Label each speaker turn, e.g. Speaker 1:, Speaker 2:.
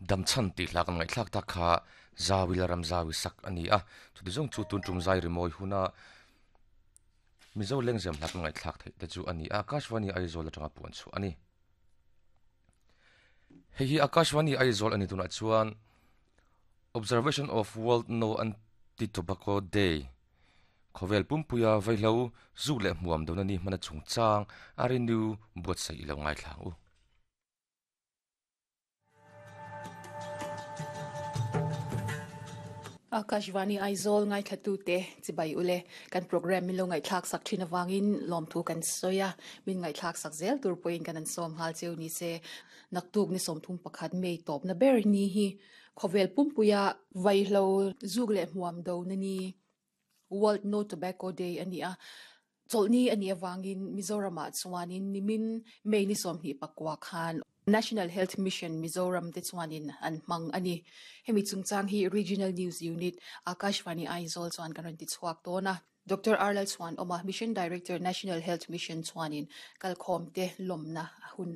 Speaker 1: Damchhan tih hla kan ngaihthlak tak kha Zawi la ram zawi sak a ni a, chuti zawng chu tun tum zai rimawi huna Mizo lengzem hla kan ngaihthlak theih te chu a ni a, Akashvani Aizawl atanga puan chhuah a ni. Hei hi Akashvani Aizawl a ni tunah chuan Observation of World No Anti-Tobacco Day Khawvel pumpuia vaihlo zuk leh hmuam dona ni hmana chungchang a renew buatsaih i lo ngaithla ang u.
Speaker 2: Akashvani Aizawl ngaithlatute chibai ule kan programme min lo ngaihthlak sak thin avangin lawmthu kan sawi a, min ngaihthlak sak zel tur pawhin kan an sawm nghal cheu ni se. Naktuk ni 31 May tawpna ber ni hi khawvel pumpuia vaihlo zuk leh hmuam dona ni World No Tobacco Day a ni a, chawlhni a nih avangin Mizoramah chuanin nimin May ni 24 khan National Health Mission Mizoram te chuanin an hmang a ni. Hemi chungchang hi Regional News Unit, Akashvani Aizawl chuan kan rawn ti chhuak dawn a. Doctor R Lalchhuanawma, Mission Director, National Health Mission chuanin kalkhawmte lawmna a hun.